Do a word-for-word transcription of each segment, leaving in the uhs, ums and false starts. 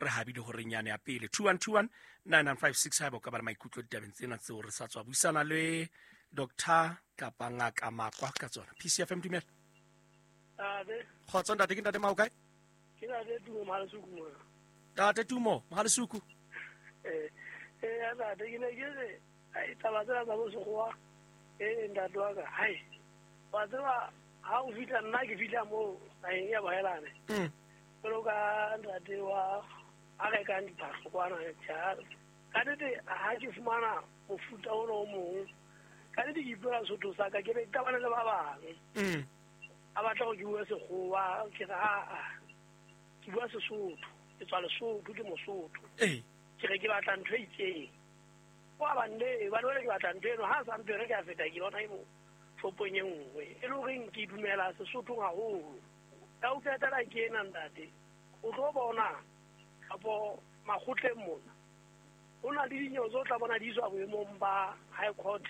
Re habile horeng yane ya pele. two one two one nine nine five six haeba o ka ba le maikutlo ditabeng tsena tseo re sa tswa buisana le Doctor kapa Ngaka Makwa ka tsona. P C F M dumela. Ade. Kgotso ntate, ke ntate Mao kae? Ke ntate Tumo Mohalisuku mona. Ntate Tumo Mohalisuku. Eh, eh ntate ke ne ke re ai taba tsena tsa bo sekgowa eh ntate wa ka hai. Wa tseba ha o fihla nna ke fihla moo naheng ya bohelane. Mm. Jwalo ka ntate wa a rekang diphahlo kwana tjha. Ka nnete ha ke fumana mofuta ona o mong, ka nnete ke ipuela Sesotho sa ka, ke be ke qabane le ba bang. Mm. A batla hore ke bue Sekgowa, ke re aa, ke bua Sesotho, ke tswa Lesotho, ke Mosotho. Ee. Ke re ke batla ntho e itseng. Wa ba nne, ba re ke batla ntho eno, ha sa mphe re ke a feta ke bona e mo shopong e nngwe. E le horeng ke dumela Sesothong haholo. Ka o qetela ke ena ntate, o tlo bona kapo makgotleng mona. Ho na le dinyewe tse o tla bona di iswa boemong ba High Court,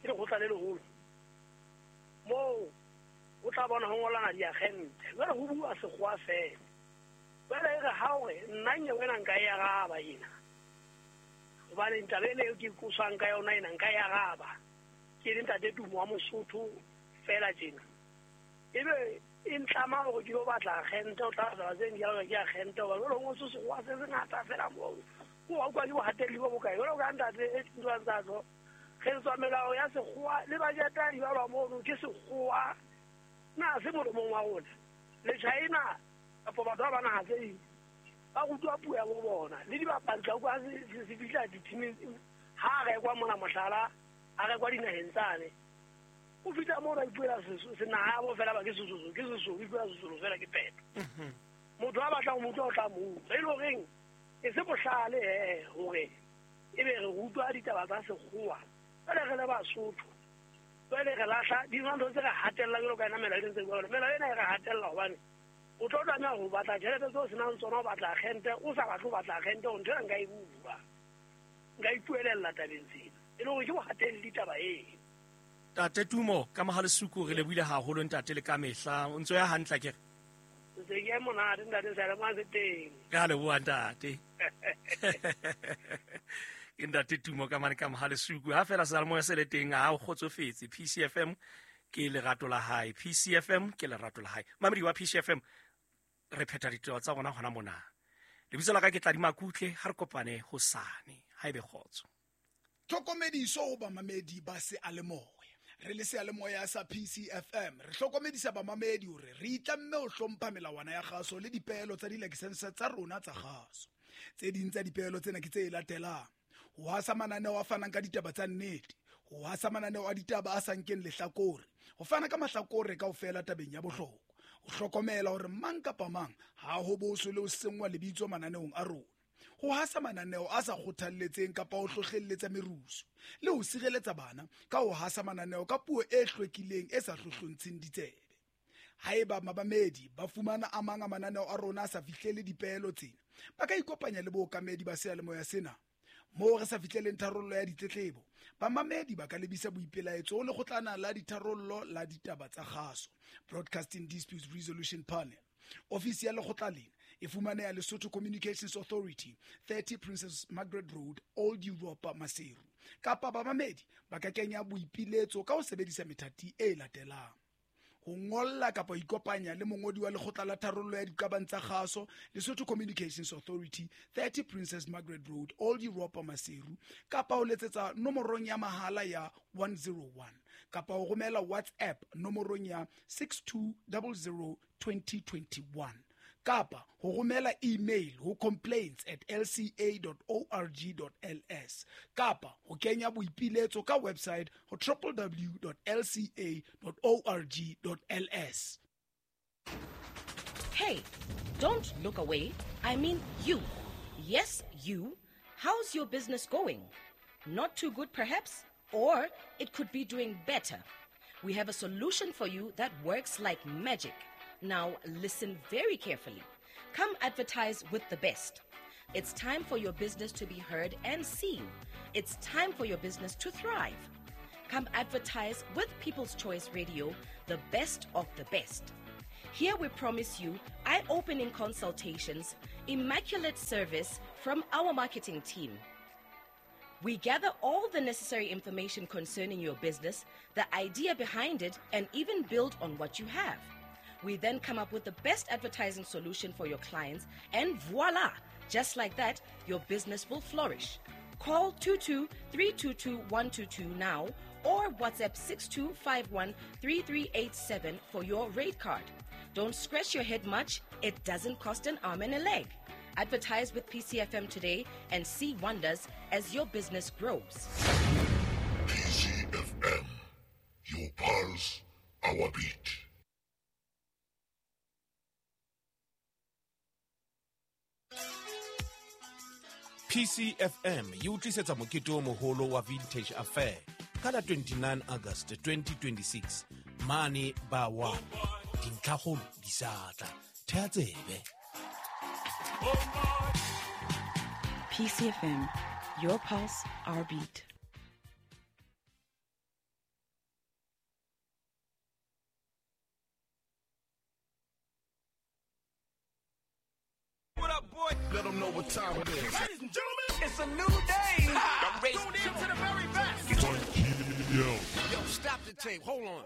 ke lekgotla le leholo. Moo o tla bona ho ngolana diagente. Jwale ho bua Sekgowa feela. Jwale e re ha o re nna nyewe ena nka e araba ena. Hobane taba ena eo ke qoswang ka yona ena nka e araba. Ke le ntate Tumo wa Mosotho feela tjena. Ebe e ntlama hore ke lo batla agente, o tla taba tse di ke agente, hobane jwale ho ngotswe Sekgowa se sengata feela moo. Ko wa utlwa ke bohatelli bo bokae. Jwale ka ntate e ntwa tsa tlo. Re tswa melao ya Sekgowa le budget ya di balwa mono ke Sekgowa. Na se molomong wa rona. Le China kapa batho ba ba naha tse ding ba rutwa puo ya bo bona. Le dibapadi tla utlwa se se fihla di-teaming ha rekwa mona mohlala, a rekwa dinaheng tsane. O fihla moo ba ipuela senaha ya bo fela ba ke Sesotho, ke Sesotho, o ipuela Sesotho fela ke peto. Motho a batlang ho mo utlwa o tla mo utlwa. E le horeng e se bohlale he hore ebe re rutwa ditaba tsa Sekgowa. Jwale re le Basotho, jwale re lahla dintho tse re hatella jwalo ka ena melao e ntse e bua jwalo. Melao ena e re hatella hobane o tlo tlameha ho batla tjhelete tseo o senang tsona, o batla agente, o sa batle ho batla agente, ntho ena nka e bua. Nka ipuelella tabeng tsena. E le hore ke bohatelli taba eo. Ntate Tumo ka Mohalisuku re lebohile haholo ntate le ka mehla. O ntso ya hantle akere? Ntse ke monate ntate, seyalemoya se teng. Re a leboha ntate. Ke ntate Tumo ka mane ka Mohalisuku. Ha feela seyalemoya se le teng ha o kgotsofetse. P C F M ke lerato la hae. P C F M ke lerato la hae. Mamedi wa P C F M re phetha ditaba tsa rona hona mona. Lebitso la ka ke Tladi Makutle, ha re kopane hosane. Ha ebe kgotso. Tlhokomediso ho bamamedi ba seyalemoya. Re le seyalemoya sa P C F M re hlokomedisa bamamedi hore re itlamme ho hlompha melawana ya kgaso le dipeelo tsa dilakesense tsa rona tsa kgaso. Tse ding tsa dipeelo tsena ke tse latelang: ho hasa mananeo a fanang ka ditaba tsa nnete, ho hasa mananeo a ditaba a sa nkeng lehlakore, ho fana ka mahlakore kaofela tabeng ya bohlokwa, ho hlokomela hore mang kapa mang ha ho boswe le ho senngwa lebitso mananeong a rona, ho hasa mananeo a sa kgothalletseng kapa ho hlohlelletsa merusu, le ho sireletsa bana ka ho hasa mananeo ka puo e hlwekileng e sa hlohlontsheng ditsebe. Haeba mabamedi ba fumana a mang a mananeo a rona a sa fihlele dipeelo tsena, ba ka ikopanya le bookamedi ba seyalemoya sena. Moo re sa fihleleng tharollo ya ditletlebo, bamamedi ba ka lebisa boipelaetso ho lekgotlana la ditharollo la ditaba tsa kgaso, Broadcasting Disputes Resolution Panel. Ofisi ya lekgotla lena e fumaneha Lesotho Communications Authority, thirty Princess Margaret Road, Old Europa, Maseru. Kapa bamamedi ba ka kenya boipiletso ka ho sebedisa methati e latelang: ho ngolla kapa ho ikopanya le mongodi wa lekgotla la tharollo ya diqabang tsa kgaso, Lesotho Communications Authority, thirty Princess Margaret Road, Old Europa, Maseru, kapa ho letsetsa nomorong ya mahala ya one zero one, kapa ho romela WhatsApp nomorong ya six two zero zero twenty twenty-one, kapa ho romela email ho complaints at l c a dot org dot l s, kapa ho kenya boipiletso ka website ho w w w dot l c a dot org dot l s. Hey, don't look away. I mean you. Yes, you. How's your business going? Not too good, perhaps? Or it could be doing better. We have a solution for you that works like magic. Now, listen very carefully. Come advertise with the best. It's time for your business to be heard and seen. It's time for your business to thrive. Come advertise with People's Choice Radio, the best of the best. Here we promise you eye-opening consultations, immaculate service from our marketing team. We gather all the necessary information concerning your business, the idea behind it, and even build on what you have. We then come up with the best advertising solution for your clients, and voila! Just like that, your business will flourish. Call two two three two two one two two now or WhatsApp six two five one three three eight seven for your rate card. Don't scratch your head much. It doesn't cost an arm and a leg. Advertise with P C F M today and see wonders as your business grows. P C F M, your pulse, our beat. P C F M e o tlisetsa mokete o moholo wa Vintage Affair ka la twenty-nine August twenty twenty-six mane ba one. Dintlhakgolo di sa tla. Thea tsebe. P C F M, your pulse, our beat. What up, boy? Let them know what time it is. Ladies and gentlemen, it's a new day. I'm ready to the very best. Yo. Yo, stop the tape. Hold on.